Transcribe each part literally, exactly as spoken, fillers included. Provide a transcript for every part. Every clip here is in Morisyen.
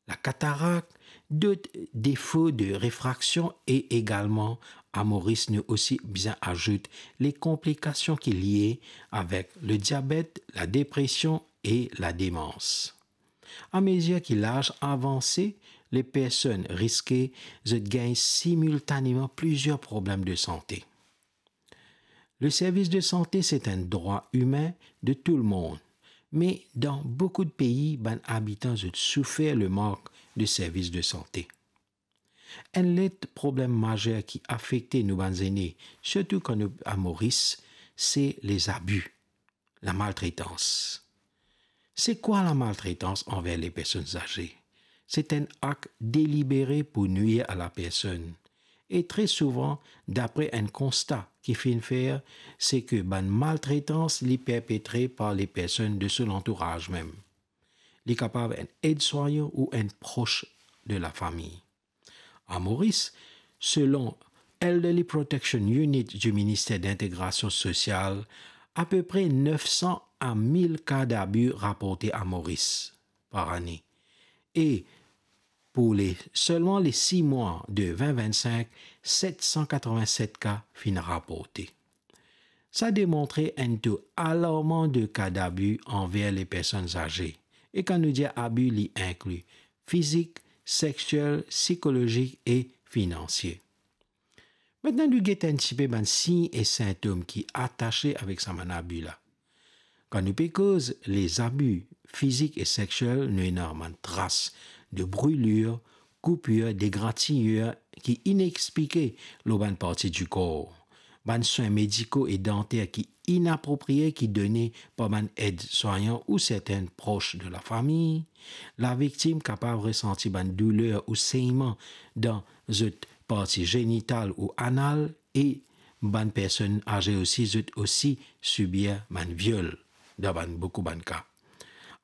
la katarak, dot defo de refraksion e egalman, a Moris, nou osi bizin azout le konplikasion ki lie avek le diabet, la depresion e la demans. Amezir ki laz avanse, le personn riske zot gagn similtaneman plizier problem de sante. Le servis de sante, se enn drwa imin de tou le mond, me dan boukou de pei, bann abitan zot soufer le mank de servis de sante. Enn lot problem mazer ki afekte nou bann zene, sirtou kan nou a Moris, se lezabi, lamaltretans. Se kwa lamaltretans anver le personn aze? Se enn ak delibere pou nwir a la personn. E tre souvan, dapre enn konsta ki finn fer, se ke bann maltretans li perpetre par le personn de so lantouraz mem. Li kapav enn edswayan ou enn pros de lafami. A Moris, selon Elderly Protection Unit di Minister Lintegrasion Sosial, apepre nef san a mil ka dabi raporte a Moris par ane. E pou le, selman le sis mwa de vin vinn-sink, set san katrovin-set ka finn raporte. Sa demontre enn to alarman de ka dabi anver le personn aze. E kan nou dir abi, li inkli fizik, sexiel, sikolozik e finansie. Aster nou get enn tipe bann sign e sintom ki atase avek sa bann abi la. Kan nou pe koz lezabi fizik e sexiel, nou ena bann tras de brilir, koupir, degratigner ki inexplike lor bann parti dikor, bann swin mediko e danter ki inaproprie ki done par bann edswayan ou sertin pros de lafami. Laviktim kapav resanti bann douler ou senyman dan zot parti zenital ou anal, e bann personn aze osi, zot osi sibir bann viol dan bann, boukou bann ka.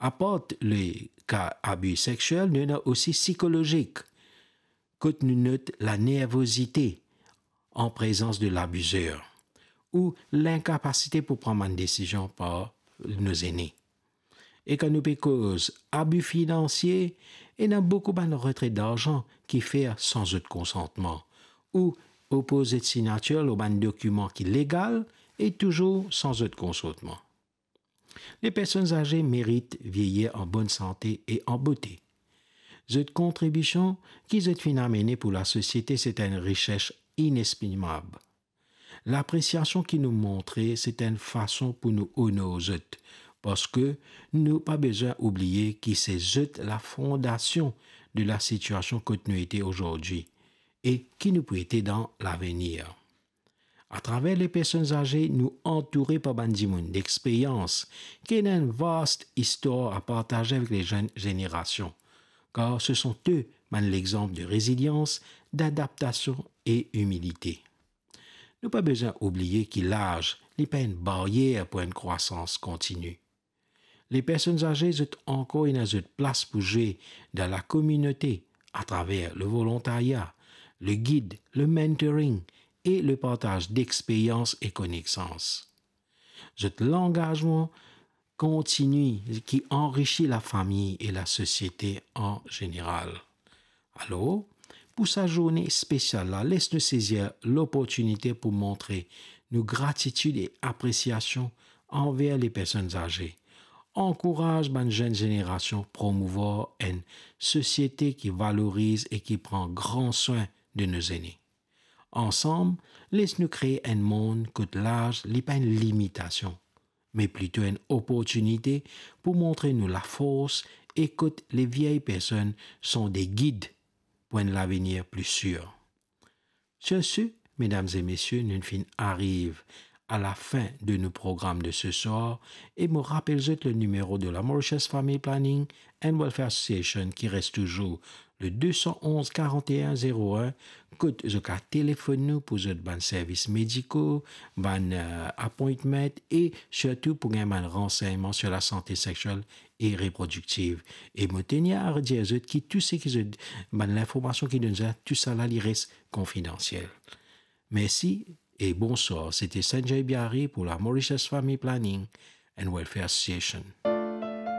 Apar le ka abi sexiel, nou ena osi sikolozik, kot nou not lanervozite an prezans de labizer ou linkapasite pou pran bann desizion par nou zene. E kan nou pe koz abi finansie, ena boukou bann retre darzan ki fer san zot konsantman, ou opoz zot signatir lor bann dokiman ki legal e touzour san zot konsantman. Le personn aze merit vieye an bonn sante e an bote. Zot kontribision ki zot finn amene pou lasosiete, se enn rises inestimab. Lapresiasion ki nou montre, se enn fason pou nou onor zot, parski nou pa bizin oubliye ki se zot lafondasion de lasitiasion kot nou ete azordi e ki nou pou ete dan lavenir. Atraver le personn aze, nou antoure par bann dimoun dexperyans, ki ena enn vast istwar a partaze avek le zenn zenerasion, kar se sont eux bann lexanp de rezilians, dadaptasion e imilite. Nou pa bizin oubliye ki laz, li pa enn baryer pou enn krwasans kontini. Le personn aze, zot ankor ena zot plas pou zwe dan lakominote atraver le volontarya, le gid, le mentoring e le partaz dexperyans e konesans. Zot langazman kontini ki anrisi lafami e lasosiete an zeneral. Alor, pou sa zourne spesial la, les nou sezir loportinite pou montre nou gratitid e apresiasion anver le personn aze. Ankouraz bann zenn zenerasion promouvwar enn sosiete ki valoriz e ki pran gran swin de nou zene. Ansam, les nou kree enn mond kot laz li pa enn limitasion, me plito enn oportinite pou montre nou lafors e kot le vye personn sont de gid pou enn lavenir pli sir. Sur ce, medam e mesie, nou finn ariv a lafin de nou program de se swar e mo rapel zot le nimero de la Mauritius Family Planning and Welfare Association ki res touzour le de san onz karant e enn zero enn, kot zot kapav telefonn nou pou zot bann servis mediko, bann, eh, appointment e sirtou pou gagn bann ransegnman sur lasante sexiel e reprodiktiv. E mo tenir a dir zot ki tou seki zot, bann linformasion ki donn zot, tou sala li res konfidansiel. Mersi e bonswar. Sete Sanjay Biari pou la Mauritius Family Planning and Welfare Association.